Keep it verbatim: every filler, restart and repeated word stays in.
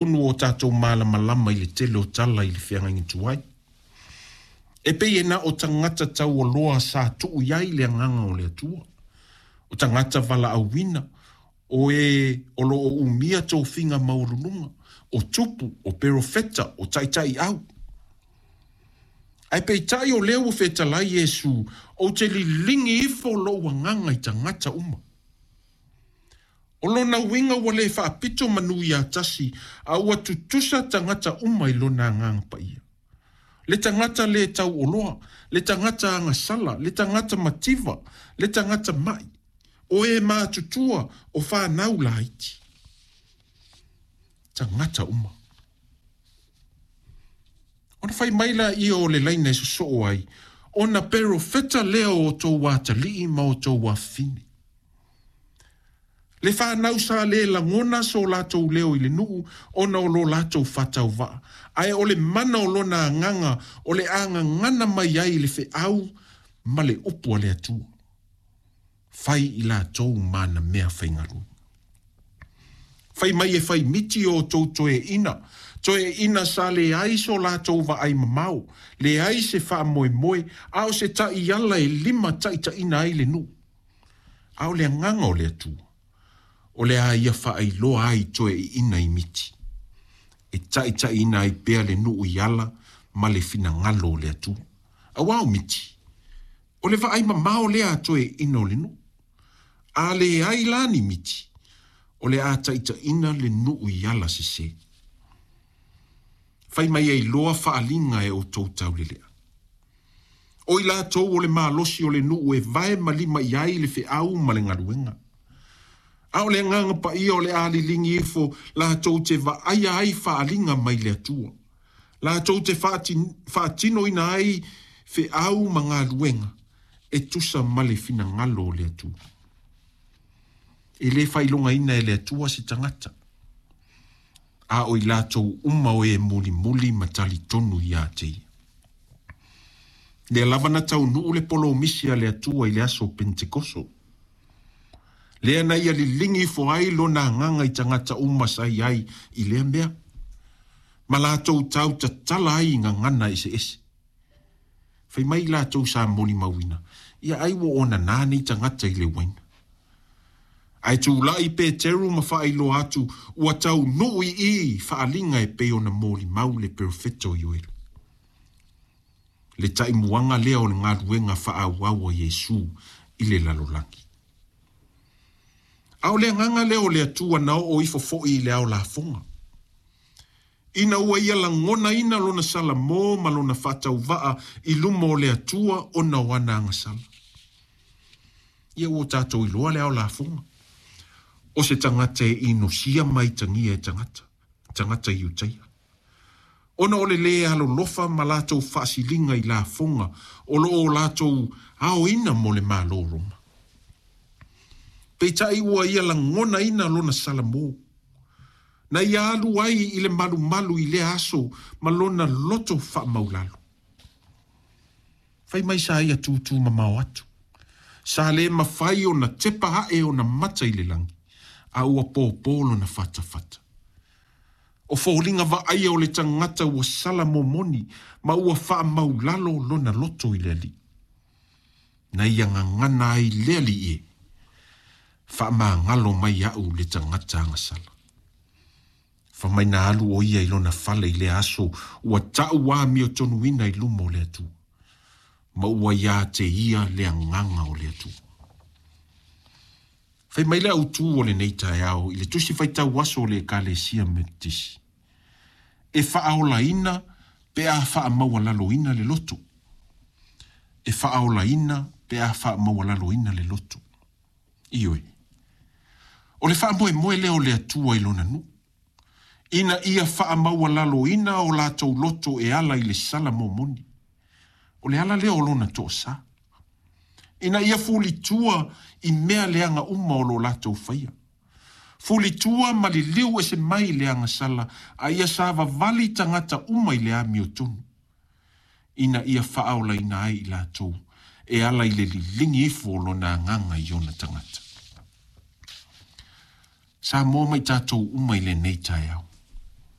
Tonu o tatou malamalama i le tele o tala i le feagaiga tuai. E pei e na o tagata taualoa sa tuu i ai le agaga o le Atua. O tagata valaauina, o e o lo o umia tofiga maualuluga, o tupu, o perofeta, o taitaiau. Ae peitai o lea ua fetalai Iesu, ou te liligi ifo lou agaga i tagata uma. O lona uiga ua le faapito manu ia tasi, a ua tutusa tagata uma i lona agaga paia. Le tagata le tauoloa, le tagata agasala, le tagata mativa, le tagata mai, o e matutua, o fanau laiti. Tagata uma. Ona fai mai laia o le laina e sosoo ai, ona perofeta lea o outou atalii ma outou afafine. Le fanau sa le lagona so latou leo i le nuu ona o lo latou faatauvaa, ae o le mana o lona agaga o le agagana mai ai i le feau ma le upu a le Atua. Fai i latou ma ana mea faigaluega. Fai mai e fai miti o outou toeaiina, toeaiina sa leai so latou vaai mamao, leai se faamoemoe, a o se taiala e lima taitaiina ai le nuu. A o le agaga o le Atua, o le a ia faailoa ai toeaiina i miti, e taitaiina ai pea le nuu i ala ma le finagalo o le Atua. Aua o miti, o le vaai mamao lea a toeaiina o le nuu. A leai la ni miti, o le a taitaiina le nuu i ala sese. Fai mai e iloa faaliga e outou taulelea. O i latou o le malosi o le nuu e vae ma lima i ai le feau ma le galuega. A o le agaga paia o le a liligi ifo latou te vaaia ai faaliga mai le Atua. Latou te faatinoina ai feau ma galuega e tusa ma le finagalo o le Atua. E le faailogaina e le Atua se tagata. A o i latou uma o e mulimuli ma talitonu ia te ia. Lea lava na taunuu le polomisi a le Atua i le aso Pentekoso. Lea na ia liligi ifo ai lona agaga i tagata uma sa i ai i lea mea. Ma latou tau tatala ai i gagana eseese. Fai mai latou sa molimauina, ia ai ua ona nā nei tagata i le uaina. Ae tulai Peteru ma faailoa atu ua taunuu i i faaliga e pei ona molimau le perofeta o Ioelo. Le taimuaga lea o le galuega faaauau a Iesu i le lalolagi. A o le agaga lea o le Atua na oo ifo foi i le ao lafoga. Ina ua ia lagonaina lona salamo ma lona faatauvaa i luma o le Atua ona o ana agasala. Ia ua tatou iloa le ao lafoga. O se tagata e inosia mai tagia e tagata, tagata Iutaia. Ona o le le alolofa ma latou faasiliga i lafoga o lo o latou aoina mo le Malo Roma. Peitai ua ia lagonaina lona salamo. Na ia alu ai i le malumalu i lea aso ma lona loto faamaulalo. Fai mai sa ia tūtū mamao atu. Sa le mafai ona tepa ae ona mata i le lagi, a ua pōpō lona fatafata. O foliga vaaia o le tagata ua sala momoni ma ua faamaulalo lona loto i le Alii. Na ia gagana ai le Alii e, faamagalo mai au le tagata agasala. Fai mai na alu o ia i lona fale i le aso ua tau amiotonuina i luma o le Atua. Ma ua ia te ia le agaga o le Atua. Fai mai le autū o lenei taeao i le tusi faitau aso o le Ekalesia Metotisi. E faaolaina pe a faamaualaloina le loto. E faaolaina pe a faamaualaloina le loto. Ioe. O le faamoemoe lea o le Atua i lona nuu. Ina ia faamaualaloina o latou loto e ala i le sala momoni. O le ala lea o lona toasa. Ina ia fulitua i mea leaga uma o lo latou faia. Fulitua ma liliu ese mai le agasala, a ia savavali tagata uma i le amiotonu. Ina ia faaolaina ai i latou, e ala i le liligi ifo o lona agaga i ona tagata. Samoa mai tatou uma i lenei taeao.